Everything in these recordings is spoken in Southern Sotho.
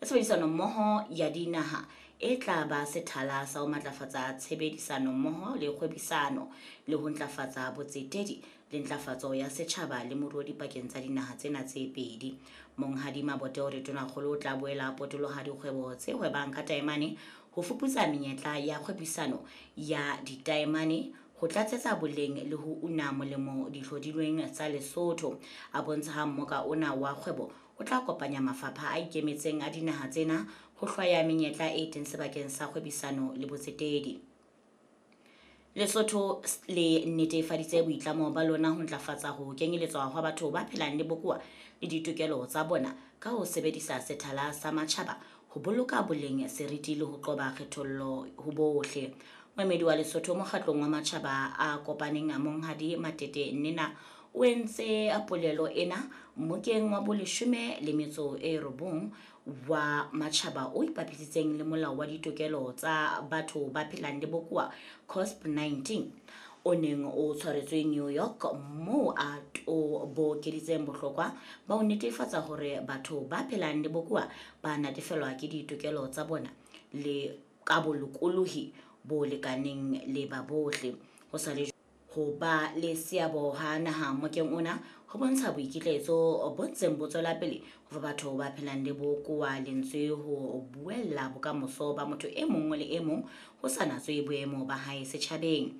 Tshebedisano-mmoho ya dinaha e tla ba sethala sa ho matlafatsa tshebedisano-mmoho le kgwebisano, le ho ntlafatsa botsetedi le ntlafatso ya setjhaba le moruo dipakeng tsa dinaha tsena tse pedi. Monghadi Mabote o re Tonakgolo o tla boela a potoloha dikgwebo tse hwebang ka taemane ho fuputsa menyetla ya kgwebisano ya ditaemane ho tlatsetsa boleng le ho una molemo dihlodilweng tsa Lesotho. A bontsha ha mmoka ona wa kgwebo o tla kopanya mafapha a ikemetseng a dinaha tsena ho hlwaya menyetla e teng sebakeng sa kgwebisano le botsetedi. Lesotho le netefaditse boitlamo ba lona ho ntlafatsa ho kenyeletswa hwa batho ba phelang le bokowa le ditokelo tsa bona ka ho sebedisa sethala sa matjhaba ho boloka boleng, seriti le ho qoba kgethollo ho bohle. Moemedi wa Lesotho mokgatlong wa matjhaba a kopaneng Monghadi Matete Nnena o entse polelo ena mmokeng wa boleshome le metso e robong wa matjhaba o ipapisitseng le molao wa ditokelo tsa batho ba phelang le bokowa COSP 19 o neng o tshwaretswe New York moo a tobokeditseng bohlokwa ba ho netefatsa hore batho ba phelang le bokowa ba natefelwa ke ditokelo tsa bona le ka bolokolohi bo lekaneng le ba bohle. Ho sa le ho ba le seabo ha naha mmokeng ona ho bontsha boikitlaetso bo ntseng bo tswela pele ho fa batho ba phelang le bokowa lentswe ho buella bokamoso ba motho e mong le e mong ho sa natswe boemo ba hae setjhabeng.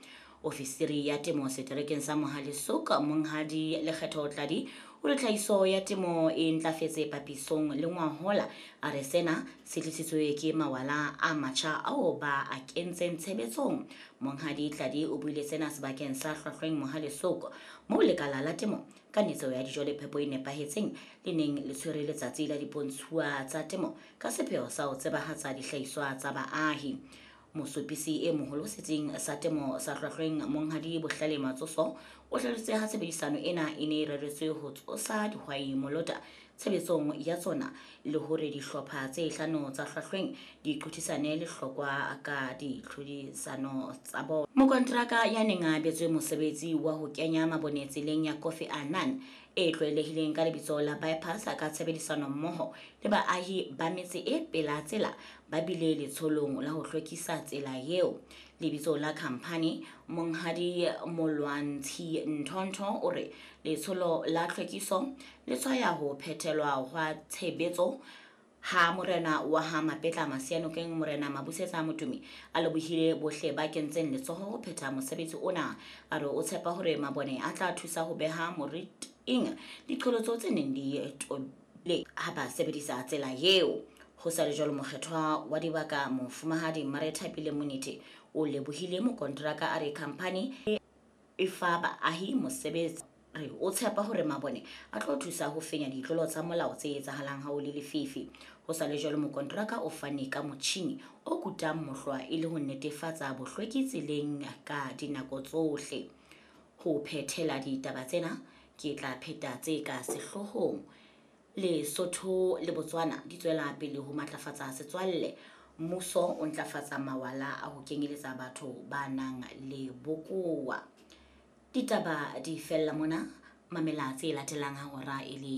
Ofisiri ya temo seterekeng sa Mohale'shoek Monghadi Lekgetho Tladi o re tlhahiso ya temo e ntlafetse papisong le ngwahola. A re sena se tlisitswe ke mawala a matjha ao ba a kentseng tshebetsong. Monghadi Tladi o buile sena sebakeng sa Hlwahlweng Mohale'shoek moo lekala la temo ka netso ya dijo le phepo e nepahetseng le neng le tshwere letsatsi la dipontshuwa tsa temo ka sepheo sa ho tsebahatsa dihlahiswa tsa baahi. Mosupisi e moholo setsing sa temo sa Hlwahlweng Monghadi Bohlale Matsoso o hlalositse ha tshebedisano ena e ne e reretswe ho tsosa dihwai molota tshebetsong ya tsona le hore dihlopha tse hlano tsa Hlwahlweng di qothisane lehlokwa ka ditlhodisano tsa bona. Mokonteraka ya neng a abetswe mosebetsi wa ho kenya mabone tseleng ya Kofi Annan e tlwaelehileng ka lebitso la bypass ka tshebedisano mmoho le baahi ba metse e pela tsela ba bile letsholong la ho hlwekisa tsela eo. Lebitso la khamphani Monghadi Molwantshi Nthonto o re letsholo la tlhwekiso le tshwaya ho phethelwa hwa tshebetso ha morena wa ha Mapetla Masianokeng Morena Mabusetsa Motumi a lebohile bohle ba kentseng letsoho ho phetha mosebetsi ona. A re o tshepa hore mabone a tla thusa ho beha moriting diqholotso tse neng di tobile ha ba sebedisa tsela eo. Ho sa le jwalo mokgethwa wa dibaka Mofumahadi Marethapile Monete o lebohile mokonteraka a re khamphani e fa baahi mosebetsi. Re o tshepa hore mabone a tlo thusa ho fenya ditlolo tsa molao tse etsahalang ha o le lefifi. Ho sa le jwalo mokonteraka o fane ka motjhini o kutang mohlwa e le ho netefatsa bohlweki tseleng ka dinako tsohle. Ho phethela ditaba tsena ke tla pheta tse ka sehloohong. Lesotho le Botswana di tswela pele ho matlafatsa setswalle. Mmuso o ntlafatsa mawala a ho kenyeletsa batho ba nang le bokowa. Ditaba di fella mona, mamela tse latelang ha hora e le